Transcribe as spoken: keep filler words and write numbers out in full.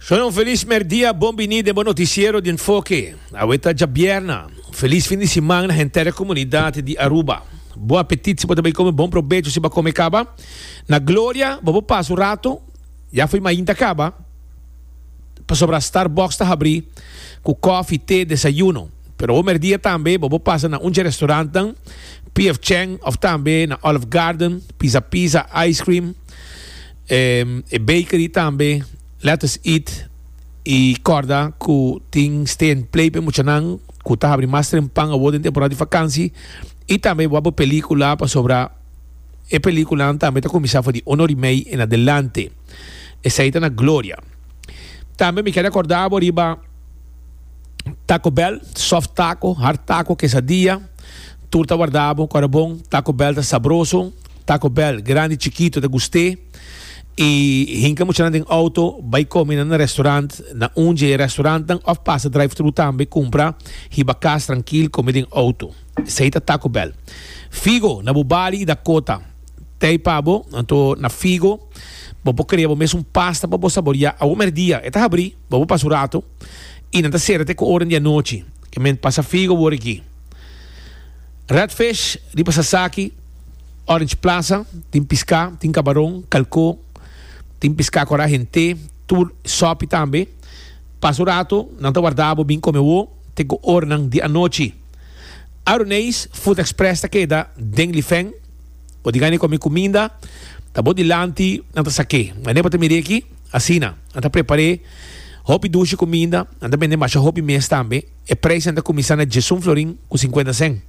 Shalom, felis merdia, bon bini den bo noticiero di Enfoke. Awe ta djabièrnè. Felis fin di siman na henter comunidad di Aruba. Bon apetit si bo tambe come, bon probecho si bo a come caba. Na Gloria, bo pasa un rato, ya for di mainta caba. Pasobra Starbucks ta habri cu koffie, te, desayuno. Pero e merdia tambe, bo pasa na un restaurant, P F. Chang, of tambe na Olive Garden, Pizza Pizza, Ice Cream, eh, e bakery tambe, Let Us Eat y corda cu tin stay and play pa muchanan cu ta habri mas trempan awor den temporada di vakantie y tambe bo pelicula, pasobra e pelicula tambe ta cuminsa for di un or y mey en adelante. Esey ta na Gloria. Tambe mi kier recorda riba Taco Bell, soft taco, hard taco, quesadilla, tur ta warda bo, bon, Taco Bell ta sabroso, Taco Bell, grandi, chikito, ta gusta. Y hinca muchanan den auto, bay come na restaurant, na un restaurant, of pasa drive-thru tambe, cumpra, hiba cas trankil, come den auto. Esey ta Taco Bell. Figo, na Bubali y Dakota. T'ey pa bo, anto na Figo, bo por crea mes un pasta pa bo saborea. Awe merdia, e ta habri, bo pasa un rato, y nan ta sera te cu ora di anochi. Kiermen pasa Figo por aki. Redfish, riba Sasaki, Orange Plaza, tin pisca, tin cabaron, calco, tin pisca cu hende, tur sopi tambe. Pasa un rato, nan ta warda bo bin come bo, te cu ora di anochi. Aroneis, Food Express ta keda den Lifeng, bo tin gana come cuminda, ta bo dilanti, nan ta sake. Mas bo ta mira aki, asina, nan ta prepara, hopi dushi cuminda, nan ta bende masha hopi mes tambe, e prijs ta cuminsa na diesun florin cu cincuenta cent.